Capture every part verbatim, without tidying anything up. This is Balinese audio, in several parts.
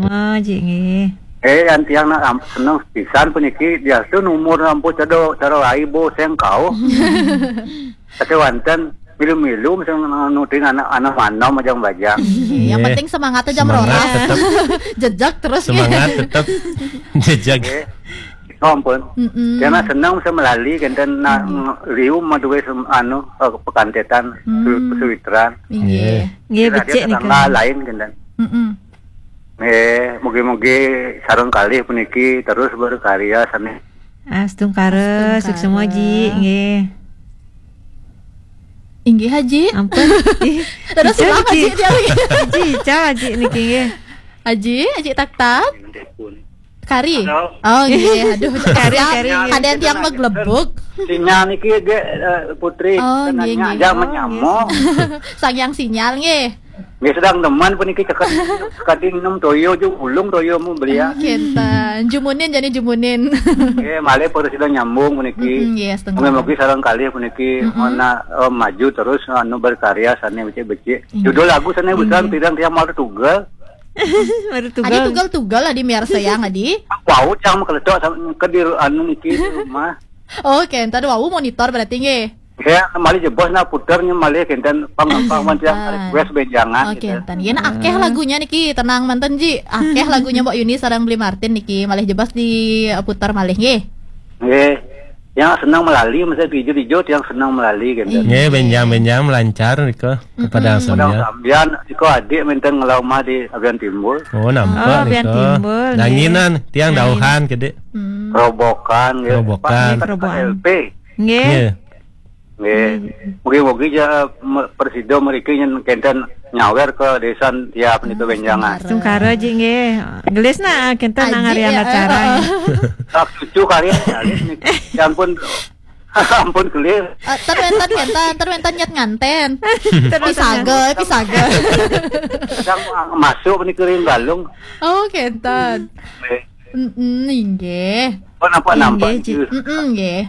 Ah, Ji nggih. Eh, yan tiang nak am-, seneng pisan puniki, diastun umur ampun cedok, cara lai bo sengkau. Tapi wanten milu-milu sing anu ting anak, anak manom ajang bajang. Iya, yang Nggih. penting semangat aja Semangat merolah. tetep. Jejak terus. Semangat tetep. Jejak. Nggih. Oh, ampun. Mm-mm. Karena senang bisa melali kenten nak Nggih. ng-, liu madue sem-, anu, eh, pekantetan, Hmm. su-, suwitran. Inggih. Nggih. Nggih, Kira dia becik nih, tetangga Kang. lain kenten. Mm-mm. Eh, mugi-mugi sareng kalih puniki terus berkarya sami. Astungkara, Astungkara. Suksma, Ji, nggih. Inggih, Haji. Ampun. Ih, Terus Ica, ulang, Ji. Haji, dia lagi. Ji, Ica, Ji niki, nggih. Haji, Haji Tak Tak. Kari. Halo. Oh, nggih, aduh. Kari, Siap. kari, nggih. Kadang tiang maglebuk. Sinyal niki, ge, eh, Putri. Oh, Tenangnya nggih, nggih. aja Oh, menyamuk. nggih. Sang yang sinyal, nggih. Nggih, sedang demen puniki cekap, cekading nem toyo ju ulung toyo mu belia. Ah, kenten. Jumunin jani jumunin. Nggih, malih presida nyambung puniki. Mm-mm, nggih, setengah. Mugi-mugi sareng kalih puniki Mm-mm. mana, eh, maju terus anu berkarya sane becik-becik. Inggih. Judul lagu sane busan Inggih. pirang tiang malu tugal. Baru Adi tugal. tugal-tugal adi miar sayang adi. Wau cang makeletok sama ke di ru-, anu niki di rumah. Oh, kenten wau monitor berarti nggih. Ya, malih jebos nak puter nya malih kenten pang-pang wan tiang Ah. request benjangan Oh, gitu. kenten. Ya, nak akeh Hmm. lagunya niki, tenang manten, Ji. Akeh lagunya Mbok Yuni sareng Bli Martin niki, malih jebos di, eh, putar malih nggih. Nggih. Yang senang melali, mesti ijo-ijo tiang senang melali kenten. Iya. Nggih, benjang-benjang melancar nika kepada Mm-mm. Padang sambian. Sambian, iko adik menten ngelau mah di Abian Timbul. Oh, nampak Oh, Abian nika. Timbul, nggih. Danginan, tiang Danginan. dauhan kede. Hmm. Robokan, nggih. Robokan. Pak, Robokan. L P. Nggih. Nggih. Nggih. Nggih. Mugi-mugi ja me-, presida mriki nyen kenten nyawer ke desa tiap niku benjangan. Astungkara, Ji, nggih. Gelis nak, kenten Aji, nang hari ya, anak eh, carang. eh. Tak cucu kalian, kalian niki. Ya ampun. Ampun gelis. Eh, ter wenten, kenten, ter wenten nyet nganten. Ter wenten Pisaga, nganten. pisaga. Sedang masuk niki ring galung. Oh, kenten. Nggih. Mm-mm, inggih. Oh, nampak-nampak Inggih, Ji. nggih. Mm-mm, nggih.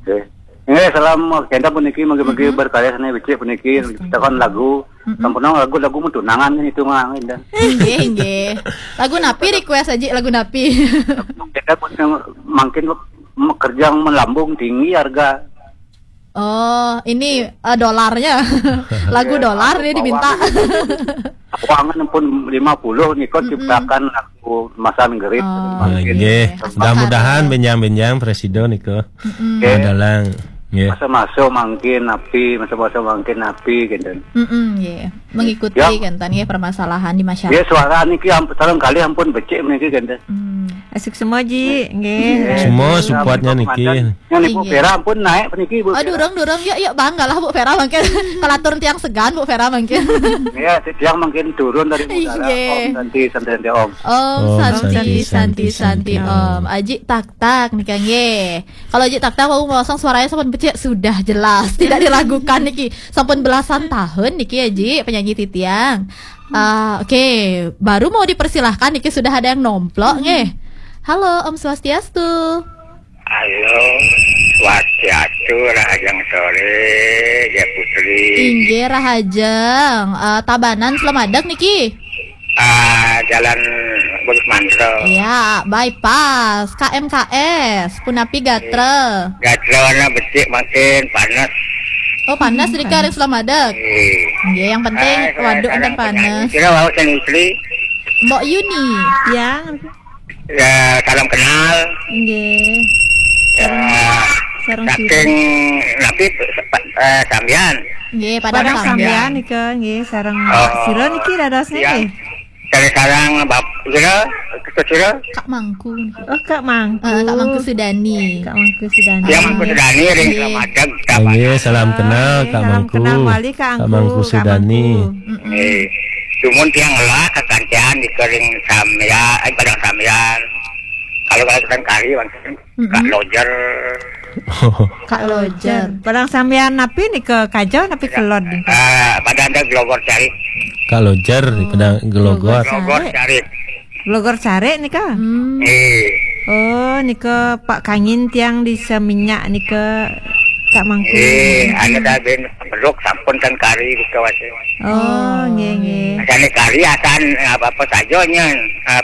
Nggih. Nggih, salam kenten puniki, mugi-mugi Mm-mm. berkarya sane becik puniki, Astagfirullah. ciptakan lagu. Mm-mm. Sampun lagu-lagu mun tunangan itu mah, kenten. Inggih, inggih. Lagu napi request aja, lagu napi? Kenten pun yang makin me-, kerja melambung tinggi harga. Oh, ini, eh, dolarnya. Lagu Iya, dolar dia diminta. Keuangan pun lima puluh nika Mm-mm. ciptakan lagu Masan Gerit. Oh, Makin nggih. Astagfirullah. Mudah-mudahan benjang-benjang presida nika Mm-mm. Nggih. adalah nggih. Masa-masa mangkin api, masa-masa mangkin api gitu. Mm-mm, nggih. Mengikuti Ya. kenten nggih permasalahan di masyarakat. Ya, suara niki amp-, sareng kalih ampun becik niki gitu. Hmm. Asik semua, Ji. Nggih. Nggih. Semua Nggih. supportnya niki. Yang Ibu Nggih. Vera pun naik puniki, Bu Oh, Vera. durung, durung. Yuk, yuk, bangga lah Bu Vera mangkin. Kalatur tiang segan Bu Vera mangkin. Ya, tiang mangkin turun dari udara. Inggih. Om Santi, Santi, Santi, Om. Om Om Santi, Santi, Santi, Santi, Santi, Santi, Om. Om. Aji Tak Tak nika nggih. Kalau Aji Tak Tak mau masang suaranya sampun becik, sudah jelas tidak diragukan niki. Sampun belasan tahun niki, Aji, penyanyi titiang. Ah, oke, baru mau dipersilahkan niki sudah ada yang nomplok nggih. Halo, Om Swastiastu. Halo, Swastiastu, rahajeng sore, Jaya Putri. Inggih, rahajeng. Eh, Tabanan Slemadeg niki. Ah, Jalan Bagus Mantra. Iya, bypass, K M K S, punapi gatra. Gatra warna becik mangkin, panas. Oh, panas Hmm, rika panas. ring Slemadeg. Iya. Nggih, yang penting Ah, saya waduk sareng enten panas. penyanyi. Kira wau sing Putri. Mbok Yuni. Yang Ya, salam kenal. Nggih. Ya, Sareng, sareng saking sira. napi, eh, sampean? Nggih, Padang Padang Sampean. Sampean nika nggih, sareng Oh, sira niki dados iya. nggih. Sareng-sareng bap-, sira, ketua sira? Kak Mangku. Oh, Kak Mangku. Eh, Kak Mangku Sudani. Kak Mangku Sudani. Tiang Mangku Sudani ring Nggih. Slemadeg, Nggih, salam kenal, Kak Salam Mangku. kenal malih, Kak Kak Angku, Mangku Kak Sudani. Mangku. Mm-mm. Eh, cuman tiang ngelah kekancan di kering samya, eh, Padang Samyan. Kalau, kalau kita kari, maksudnya, Kak Mm-mm. Lojer. Kak Lojer. Padang Samyan napi nika, Kajo napi Kelod nika? Ah, pada ada Glogor Carik. Kak Lojer, Oh, pada Glogor. Glogor Glogor Carik. Carik. Glogor Carik nika? Hmm. Eh. Oh, nika Pak Kangin tiang di Seminyak nika, Kak Mangku. Eh, anu dah ben beruk sampun kan kari di kawasan. Oh, nggih, nggih. Asal kari asan apa-apa saja nya. Ah,